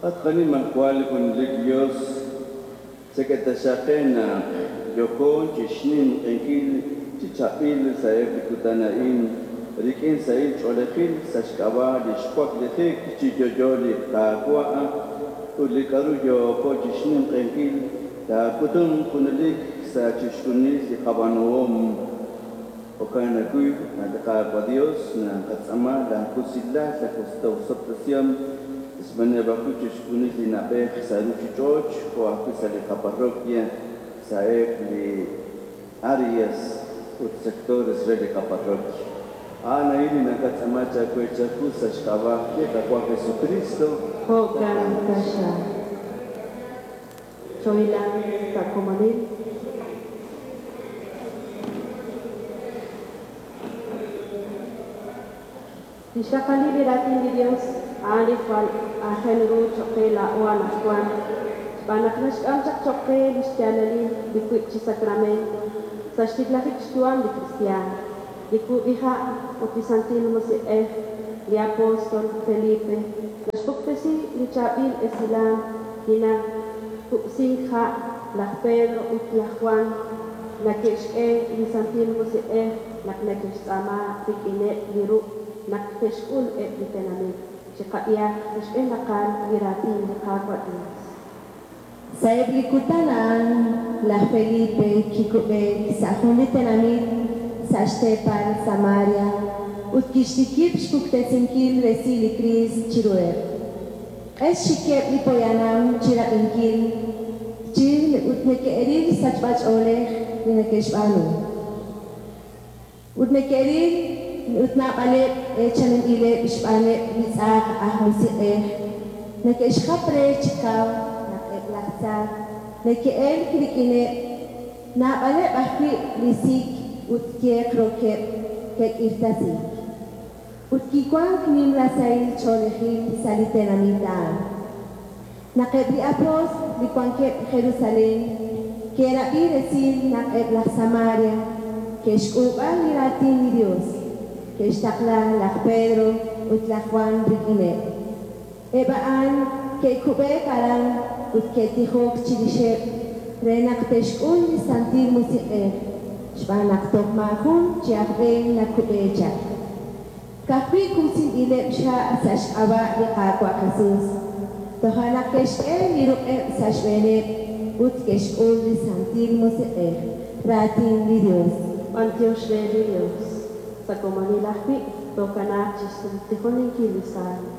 At qaNimajwal Junelik Yos, chak'e taxaq qe naq yooko chi xninq'ehinkil chi chaab'il sa'eb' li kutan a'in rik'in sahil ch'oolejil sa' xk'ab'a' li xwaklijik chi yo'yo li Qaawa' ut li k'aru yooko chi xninq'ehinkil taak'utunq junelik sa' chixjunil li qab'aanuhom. Jo'kan ajwi', a' li Qaawa' Yos naqatz'aama laawusilal, laawosob'tesihom xb'aaneb' ajwi' chixjunil li na'b'ej sa' ruuchich'och' jo' ajwi' sa' li qaparroquia, sa'eb' li áreas ut sectores re li qaparroquia. A'an a'in li naqatz'aama chaawe chawu sa' xk'ab'a' li Qaawa' Jesucristo. Jo'kan taxaq. Chohilanq sa' komonil. Lix raqalil li raatin li Dios a'an li jwal aajel ru choq' qe laa'o anajwan, xb'aan naq naxk'am chaq choq' qe lix yaalalil li wiib' chi sacramento sa' xtiklajik xyu'am li kristiaan, li kub'iha' ut li Santil Musiq'ej. Li apostol Felipe naxpuktesi li chaab'il esilal li nakub'sink ha', laj Pedro ut laj Jwan nake'xk'e li Santil Musiq'ej naq nake'xtz'aama rik'ineb' li ruq' naq te'xk'ul eb' li tenamit. Chiqab'ihaq li xb'een raqal li raatin li Qaawa' Dios. Sa'eb' li kutan a'an laj Felipe kikub'eek sa' jun li tenamit sa' xteepal Samaria ut kixtikib' xpuktesinkil resil li Kriist chiruheb'. Q'es xikeb' li poyanam chi rab'inkil chi ut neke'ril sachb'ach'oolej li neke'xb'aanu. Ut neke'ril ut naab'aleb' eechaninb'ileb' xb'aaneb' li tz'aj aj musiq'ej, neke'xjap re chi kaw naq eb' laj tza neke'elk rik'ineb', naab'aleb' ajwi' li sik ut yeq rokeb' ke'k'irtasiik. Ut kiwank nimla sahil ch'oolejil sa' li tenamit a'an. Naq eb' li apóstl li wankeb' Jerusalén ke'rab'i resil naq eb' laj Samaria ke'xk'ulub'a li Raatin li Yos, ke'xtaqla laj Pedro ut laj Jwan rik'ineb'. Eb' a'an ke'kub'eek aran ut ke'tijok chirixeb' re naq te'xk'ul li Santil Musiq'ej, xb'aan naq toj maajun chi aj b'een nakub'e chaq. Ka'ajwi' kub'sinb'ileb' xha' sa' xk'ab'a' li Qaawa' Jesus. Toja' naq ke'xk'e li ruq'eb' sa' xb'eeneb' ut ke'xk'ul li Santil Musiq'ej. Raatin li Yos. B'antiox re li Dios. Sa' komonil ajwi' tookanaaq chixtijoninkil li Salmo.